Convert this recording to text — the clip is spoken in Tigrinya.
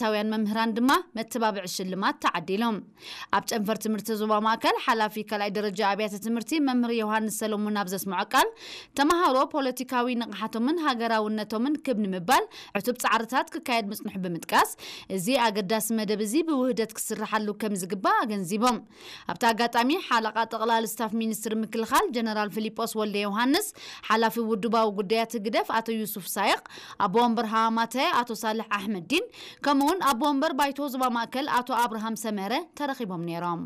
ዩኒቨርሲታውያን መምህራን ድማ መተባብዒ ሽልማት ተዓዲሎም። ኣብ ጨንፈር ትምህርቲ ዞባ ማእከል ሓላፊ ካልኣይ ደረጃ ኣብያተ ትምህርቲ መምህር ዮሃንስ ሰሎሞን ኣብ ዘስምዖ ቃል፣ ተምሃሮ ፖለቲካዊ ንቕሓቶምን ሃገራውነቶምን ክብ ንምባል ዕቱብ ጻዕርታት ክካየድ ምጽንሑ ብምጥቃስ፣ እዚ ኣገዳሲ መደብ እዚ ብውህደት ክስርሓሉ ከም ዝግባእ ኣገንዚቦም። ኣብቲ ኣጋጣሚ ሓለቓ ጠቕላሊ ስታፍ ሚኒስትሪ ምክልኻል ጀነራል ፊሊጶስ ወልደ ዮሃንስ፣ ሓላፊ ውድባዊ ጉዳያት ህግደፍ ኣቶ ዩሱፍ ሳይቕ፣ ኣቦ ወንበር ሃማማተ ኣቶ ሳልሕ ኣሕመዲን፣ ከምኡውን ኣቦ ወንበር ባይቶ ዞባ ማእከል ኣቶ ኣብርሃም ሰመረ ተረኺቦም ነይሮም።